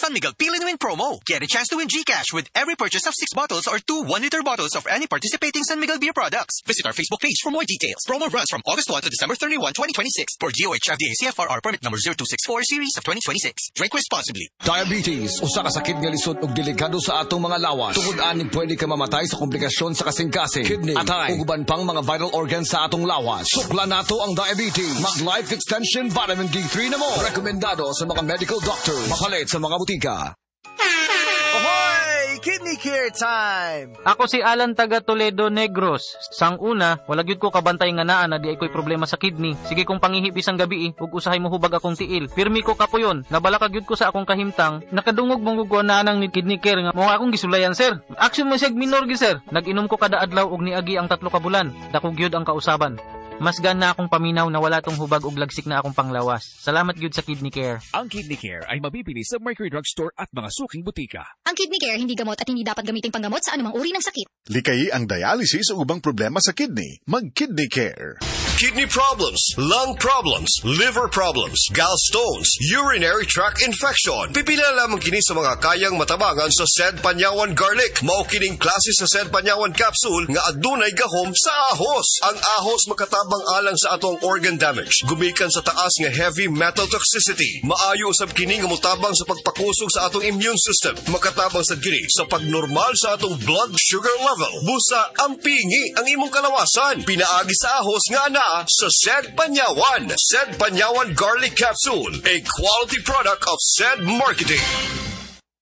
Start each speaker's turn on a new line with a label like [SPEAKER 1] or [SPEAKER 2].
[SPEAKER 1] San Miguel Pili and Win promo. Get a chance to win GCash with every purchase of 6 bottles or two 1-liter bottles of any participating San Miguel beer products. Visit our Facebook page for more details. Promo runs from August 1 to December 31, 2026 for DOH FDA CFRR permit number 0264 series of 2026. Drink responsibly.
[SPEAKER 2] Diabetes, usa ka sakit nga lisod ug delikado sa atong mga lawas. Tungod ani, pwede ka mamatay sa komplikasyon sa kasing-kasing, kidney, atay, ug uban pang mga vital organs sa atong lawas. Sukla nato ang diabetes. Mag Life Extension Vitamin D3 na mo. Rekomendado sa mga medical doctors. Mapalit sa mga butika.
[SPEAKER 3] Ahoy! Kidney Care time!
[SPEAKER 4] Ako si Alan taga Toledo, Negros. Sang una, wala gyud ko kabantay nga naa na diay ko'y problema sa kidney. Sige kong pangihi bisang gabi ug usahay mo hubag akong tiil. Pirmi ko kapuyon, nabalaka gyud ko sa akong kahimtang. Nakadungog mong ko naa nang ni Kidney Care nga mo akong gisulayan, sir. Action mo siya minor gyud, sir. Nag-inom ko kada adlaw ug niagi ang 3 ka bulan. Dako gyud ang kausaban. Mas gana akong paminaw na wala tong hubag ug lagsik na akong panglawas. Salamat gyud sa Kidney Care.
[SPEAKER 5] Ang Kidney Care ay mabibili sa Mercury Drug Store at mga suking butika.
[SPEAKER 6] Ang Kidney Care hindi gamot at hindi dapat gamiting panggamot sa anumang uri ng sakit.
[SPEAKER 7] Likayi ang dialysis o ubang problema sa kidney. Mag-Kidney Care.
[SPEAKER 8] Kidney problems, lung problems, liver problems, gallstones, urinary tract infection. Pipila lamang kini sa mga kayang matabangan sa Sed Panyawan Garlic. Mao kining klase sa Sed Panyawan capsule nga adunay gahom sa ahos. Ang ahos makatabang alang sa atong organ damage, gumikan sa taas nga heavy metal toxicity. Maayo usab kini nga motabang sa pagpakusog sa atong immune system. Makatabang sad kini sa pagnormal sa atong blood sugar level. Busa ampingi ang imong kalawasan. Pinaagi sa ahos nga anaa sa Sed Panyawan. Sed Panyawan Garlic Capsule, a quality product of Sed Marketing.